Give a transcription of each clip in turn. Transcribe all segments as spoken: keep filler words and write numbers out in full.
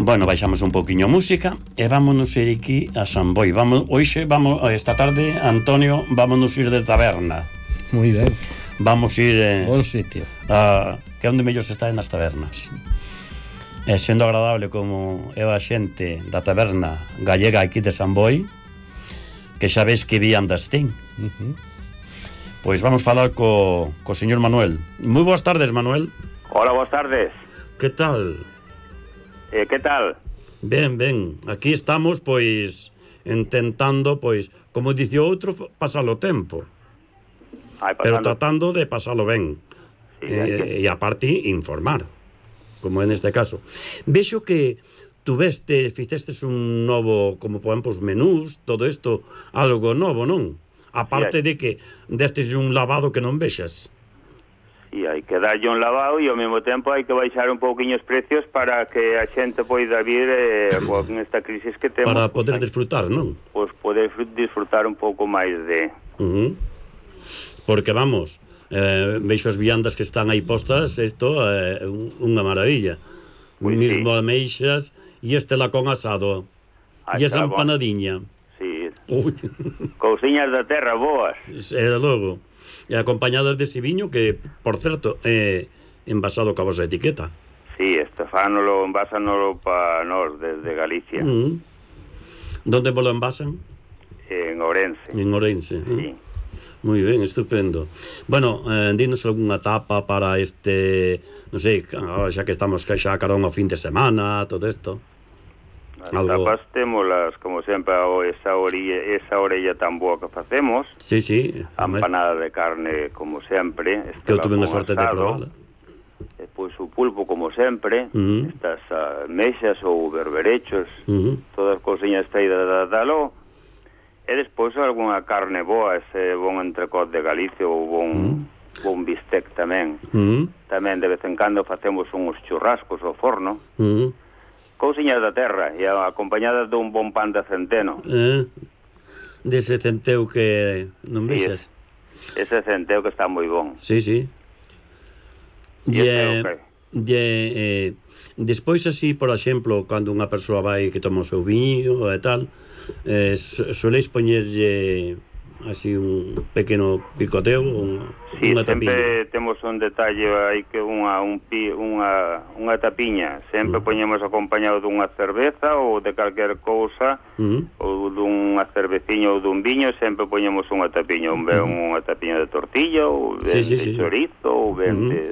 Bueno, baixamos un poquinho música e vámonos ir aquí a San Boi. Vamos, hoxe, vamos, esta tarde, Antonio, vámonos ir de taberna. Moi ben. Vamos ir eh, Bon sitio. a, que é onde mellor se está nas tabernas. E sendo agradable como é a xente da taberna gallega aquí de San Boi, que xa ves que vi andas ten. Uh-huh. Pois vamos falar co, co señor Manuel. Moi boas tardes, Manuel. Hola, boas tardes. Que tal? Eh, que tal? Ben, ben, aquí estamos, pois, intentando, pois, como dice o outro, pasar o tempo. Ai, Pero pasando... tratando de pasalo ben. Sí, e, que... e a parte, informar, como en este caso. Vexo que tú veste, fixestes un novo, como por exemplo, os menús, todo isto, algo novo, non? A parte sí, de que destes un lavado que non vexas. E hai que darlle un lavado e ao mesmo tempo hai que baixar un pouquiño os precios para que a xente poida vir eh, con esta crisis que temos. Para poder pues, disfrutar, non? Pois pues poder disfrutar un pouco máis de... Uh-huh. Porque vamos, eh, veixo as viandas que están aí postas, isto é eh, unha maravilla. Pues mismo sí. Ameixas e este lacón asado. E esa empanadiña. Sí. Cousiñas da terra boas. E logo. E acompañadas de ese viño que, por certo, é envasado ca vosa etiqueta. Sí, Estefánolo, envásanolo pa nós desde Galicia. Uh-huh. Donde vos lo envasan? En Ourense. En Ourense. Sí. Uh. Moi ben, estupendo. Bueno, eh, dinos algunha tapa para este, non sei, xa que estamos xa carón ao fin de semana, todo isto. As algo... tapas témolas, como sempre, esa orilla, esa orella tan boa que facemos. Sí, sí. A empanada de carne, como sempre. Que eu tuve a sorte de probarla. Depois o pulpo, como sempre. Uh-huh. Estas uh, mexas ou berberechos. Uh-huh. Todas as cousiñas traídas da Daló. E despois algunha carne boa, ese bon entrecot de Galicia ou bon, uh-huh. bon bistec tamén. Uh-huh. Tamén de vez en cando facemos uns churrascos ao forno. Uh-huh. Cousiñas da terra e acompañadas dun bon pan de centeno. Eh, dese centeu que non vexas. Sí, ese centeu que está moi bon. Sí, sí. E, e, okay. e, despois así, por exemplo, cando unha persoa vai que toma o seu viño e tal, eh, soleis poñerlle así un pequeno picoteo, un, sí, unha tapiña. Sempre temos un detalle, hai que unha un pi, unha unha tapiña, sempre uh-huh. poñemos acompañado dunha cerveza ou de calquer cousa, uh-huh. ou dunha cerveciña ou dun viño, sempre poñemos unha tapiña, un ben uh-huh. unha tapiña de tortilla ou ben sí, sí, de sí. chorizo ou ben uh-huh. de...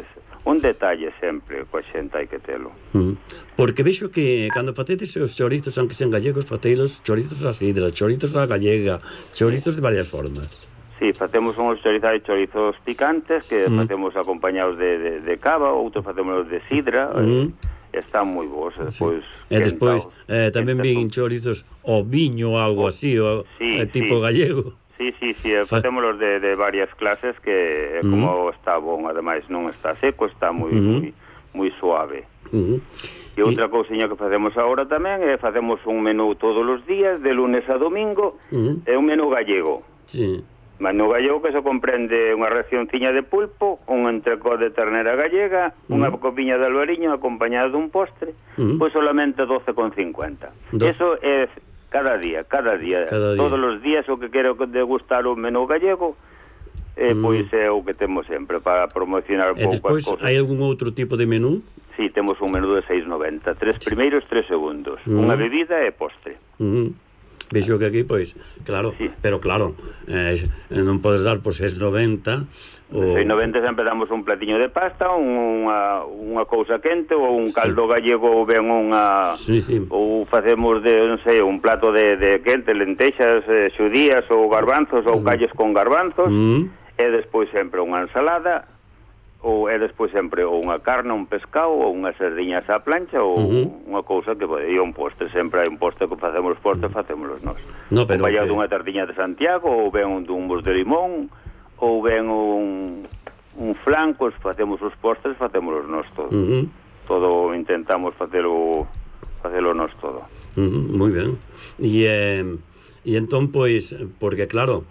Un detalle sempre, coa xente hai que telo. Uh-huh. Porque vexo que cando facedes os chorizos, aunque sean gallegos, faceilos chorizos a sidra, chorizos a gallega, chorizos de varias formas. Sí, facemos uns chorizos, chorizos picantes, que uh-huh. facemos acompañados de, de, de cava, outros facemos de sidra, uh-huh. eh, están moi bons. Despois, sí. E despois eh, tamén vin chorizos o viño, algo así, o, sí, eh, tipo sí. gallego. Sí, sí, sí, facémolos de, de varias clases que uh-huh. como está bon, ademais non está seco, está moi uh-huh. moi, moi suave. Uh-huh. E outra cousiña que facemos agora tamén é facemos un menú todos os días, de lunes a domingo, uh-huh. é un menú gallego. Sí. Menú gallego que se comprende unha racionciña de pulpo, un entrecot de ternera gallega, uh-huh. unha copiña de albariño acompañada dun postre, uh-huh. pois solamente doce con cincuenta. Do... Eso é cada día, cada día, cada día, todos os días o que quero degustar o menú gallego, eh, mm. pois é o que temos sempre para promocionar un pouco as cousas. E despois, hai algún outro tipo de menú? Sí, temos un menú de seis noventa, tres primeiros, tres segundos, mm. unha bebida e postre. Mm. Vexo que aquí, pois, claro, sí. Pero claro, eh, non podes dar por seis noventa o... seis noventa sempre damos un platiño de pasta, unha, unha cousa quente ou un caldo sí. gallego ou ben unha... Sí, sí. Ou facemos, de, non sei, un plato de, de quente, lentexas, eh, xudías ou garbanzos ou calles con garbanzos mm. e despois sempre unha ensalada ou é despois sempre ou unha carne, un pescado ou unhas sardiñas á plancha ou uh-huh. unha cousa que pode ir un postre, sempre hai un postre que facemos os postres, facémolos nós. No, pero ou que... dunha tartiña de Santiago ou ben un dumbos de limón ou ben un, un flan, pois facemos os postres, facémolos nós todo. Uh-huh. Todo intentamos facelo facelo nós todo. Uh-huh. Moi ben. E, eh, e entón, pois, porque claro,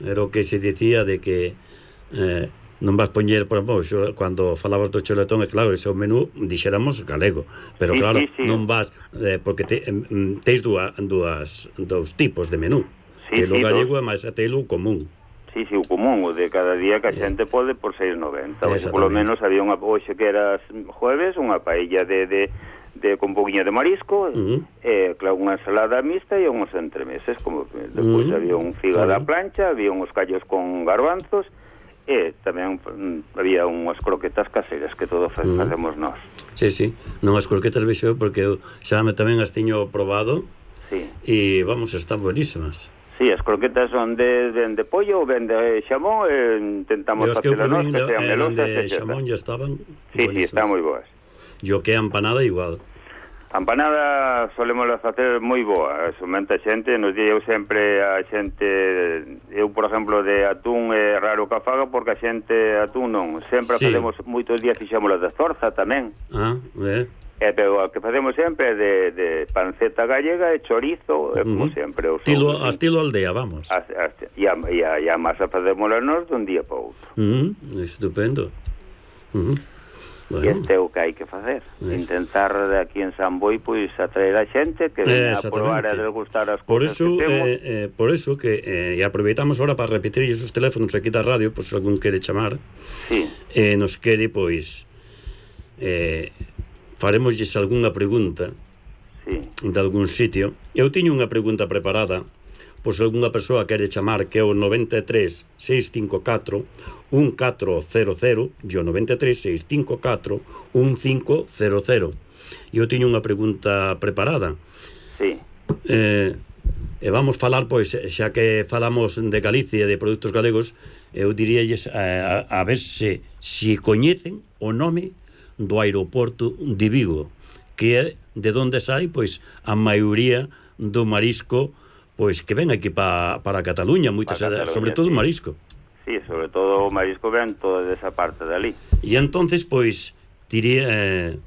era o que se dicía de que eh, non vas poñer, por exemplo, cando falabas do chuletón, é claro, ese é o menú, dixéramos galego, pero sí, claro, sí, sí. non vas, eh, porque te, eh, teis dúas, dúas, dous tipos de menú, sí, que lo sí, galego dos. é máis a telo común. Sí, sí, o común, o de cada día que a xente pode por seis noventa. Oxe, polo menos había unha, hoxe que era jueves, unha paella de, de, de con poquinho de marisco, uh-huh. eh, claro, unha ensalada mixta e uns entremeses, como depois uh-huh. había un figa uh-huh. da plancha, había uns callos con garbanzos, e tamén mm, había unhas croquetas caseras que todo uh-huh. facemos nós. Sí, sí, non as croquetas vexo porque eu xa me tamén as tiño probado sí. e vamos, están buenísimas. Sí, as croquetas son de, de, de pollo ou ben de xamón e intentamos facer nós que sean melosas de xamón ya estaban sí, sí, están moi boas. E o que é empanada igual. A empanada solemos facer moi boa, somente a xente nos di, eu sempre a xente, eu por exemplo de atún é raro que a faga porque a xente atún non, sempre sí. facemos moitos días fixamos de zorza tamén. Ah, é. E pero o que facemos sempre de, de panceta gallega e chorizo, uh-huh. como sempre. O estilo, a estilo aldea, vamos. A, a, e, a, e, a, e a masa facemos nós dun día para outro. Uh-huh. Estupendo. Uh-huh. Bueno. E este é o que hai que facer. Es. Intentar de aquí en San Boi pois atraer a xente que venha a probar e a degustar as por cousas eso, que temos. Eh, eh, por eso que eh, e aproveitamos ahora para repetir esos teléfonos aquí da radio, por se algún quere chamar. Sí. Eh, nos quere, pois, eh, faremosles algunha pregunta sí. de algún sitio. Eu tiño unha pregunta preparada, pois algunha persoa quere chamar, que é o noventa e tres, seiscentos e cincuenta e catro, un catro cero cero, e o noventa e tres, seiscentos e cincuenta e catro, un cinco cero cero. E eu tiño unha pregunta preparada. Sí. Eh, e vamos falar, pois, xa que falamos de Galicia e de produtos galegos, eu diríalles a, a, a ver se si coñecen o nome do aeroporto de Vigo, que é de onde sai, pois, a maioría do marisco pois que ven aquí pa, para Cataluña, moitas, Cataluña, sobre todo o sí. marisco. Sí, sobre todo o marisco ven toda esa parte de ali. E entonces, pois, diría, eh,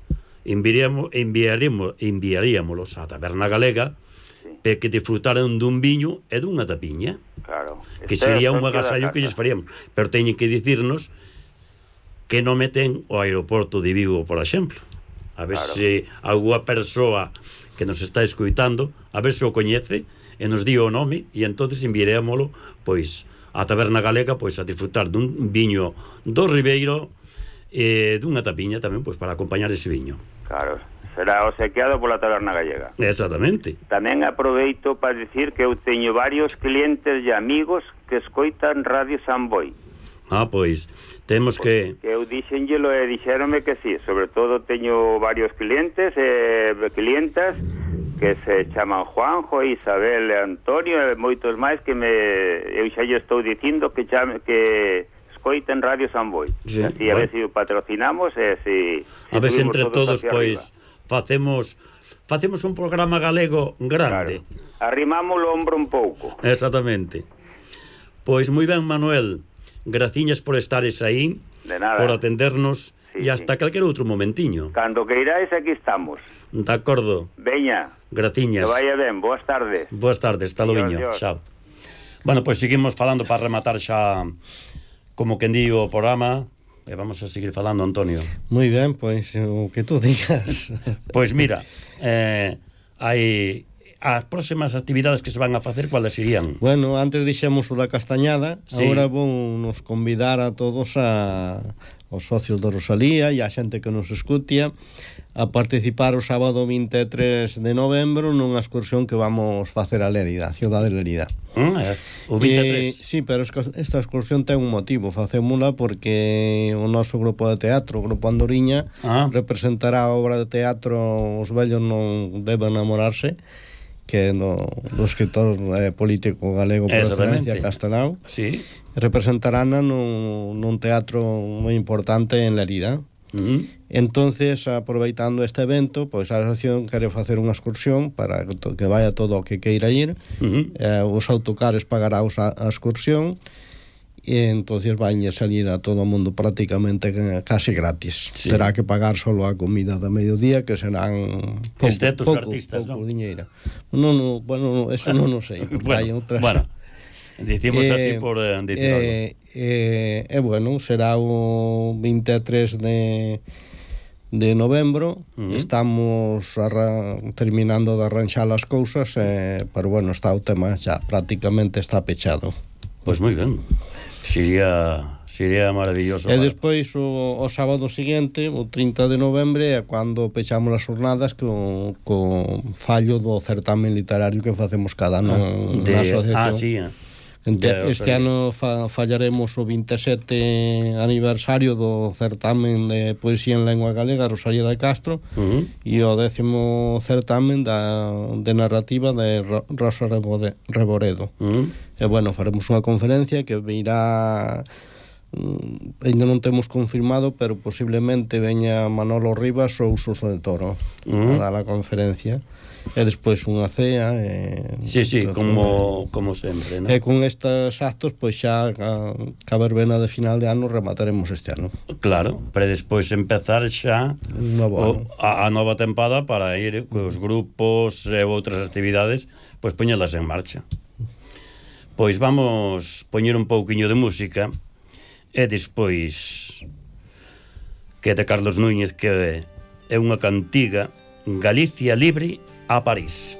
enviaríamos, enviaríamos, enviaríamos a Taberna Galega sí. para que disfrutaran dun viño e dunha tapiña. Claro. Que este sería un agasallo que lles faríamos. Pero teñen que dicirnos que non meten o aeroporto de Vigo, por exemplo. A ver claro. se alguna persoa que nos está escoitando, a ver se o coñece, e nos di o nome, e entonces enviarémolo pois a Taberna Galega pois a disfrutar dun viño do Ribeiro e dunha tapiña tamén pois para acompañar ese viño. Claro, será obsequiado pola Taberna Galega. Exactamente. Tamén aproveito para dicir que eu teño varios clientes e amigos que escoitan Radio San Boi. Ah, pois, temos que... Que eu dixenllelo e dixéronme que sí, sobre todo teño varios clientes e clientas que se chaman Juanjo, Isabel e Antonio e moitos máis que me eu xa lle estou dicindo que chame, que escoiten Radio San Boi. Sí, así a bueno. ver se si patrocinamos e se si, a ver se entre todos, todos pois arriba. facemos facemos un programa galego grande. Claro. Arrimamos o ombro un pouco. Exactamente. Pois moi ben, Manuel, graciñas por estares aí, de nada. Por atendernos sí, e hasta sí. calquer outro momentiño. Cando que iráis aquí estamos. De acordo. Veña. Graciñas. Que vaya ben, boas tardes. Boas tardes, hasta logo, chao. Bueno, pois pues seguimos falando para rematar xa como quen di o programa e vamos a seguir falando, Antonio. Moi ben, pois pues, o que tú digas. Pois pues mira, eh, hai as próximas actividades que se van a facer, cuáles serían? Bueno, antes dixemos o da Castañada, sí. Agora vou nos convidar a todos a os socios da Rosalía e a xente que nos escutia a participar o sábado vinte e tres de novembro nunha excursión que vamos facer a Lérida, a cidade de Lérida. Ah, é, o vinte e tres. E, sí, pero esta excursión ten un motivo, facémola porque o noso grupo de teatro, o Grupo Andoriña, ah. representará a obra de teatro Os vellos non deben namorarse, que no, do escritor eh, político galego por excelencia Castelao. Sí. Representarán nun, nun teatro moi importante en Lérida. Uh-huh. Entonces, aproveitando este evento, pois a asociación quere facer unha excursión para que, to, que vaya todo o que queira ir. Uh-huh. eh, os autocares pagará a, a excursión e entonces vai salir a todo o mundo prácticamente casi gratis. Sí. Terá que pagar solo a comida da mediodía, que serán pouco, excepto os artistas, pouco non? Diñeira. Non, no, bueno, eso non o sei. bueno, hai outras... bueno. Dicimos eh, así por eh, decir eh, algo. E eh, eh, bueno, será o vinte e tres de, de novembro. Uh-huh. Estamos arra, terminando de arranxar as cousas, eh, pero bueno, está o tema xa prácticamente está pechado. Pois moi ben. Sería... Sería maravilloso. E despois o, o sábado seguinte, o trinta de novembro, é cando pechamos as jornadas co, co fallo do certamen literario que facemos cada ano ah, de, na asociación. Ah, sí. Ente, este ano fa, fallaremos o vinte e sete aniversario do certamen de poesía en lengua galega Rosalía de Castro, uh-huh. e o décimo certamen da, de narrativa de Rosa Reboredo. Uh-huh. E bueno, faremos unha conferencia que virá... Mm, ainda non temos confirmado, pero posiblemente veña Manolo Rivas ou Suso de Toro uh-huh. a dar a conferencia, e despois unha cea e... Sí, sí, como, como sempre, ¿no? E con estes actos, pois xa a, a verbena de final de ano remataremos este ano. Claro, para despois empezar xa o, a, a nova tempada para ir cos grupos e outras actividades, pois poñelas en marcha. Pois vamos poñer un pouquiño de música. E despois que de Carlos Núñez, que é unha cantiga, Galicia libre a París.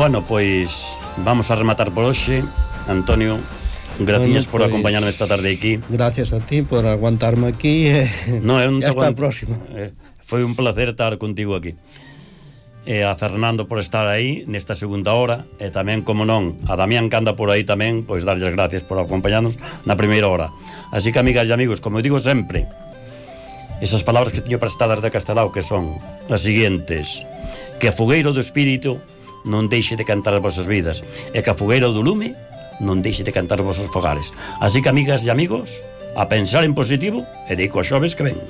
Bueno, pois vamos a rematar por hoxe. Antonio, gracias bueno, por pues, acompañarme esta tarde aquí. Gracias a ti por aguantarme aquí. Eh, no, é un hasta a próxima. Eh, foi un placer estar contigo aquí. E a Fernando por estar aí nesta segunda hora, e tamén, como non, a Damián que anda por aí tamén, pois darlle as gracias por acompañarnos na primeira hora. Así que, amigas e amigos, como digo sempre, esas palabras que teño prestadas de Castelao, que son as seguintes: que a fogueiro do espírito non deixe de cantar as vosas vidas, e que a fogueira do lume non deixe de cantar os vosos fogares. Así que, amigas e amigos, a pensar en positivo e de co xoves que ven.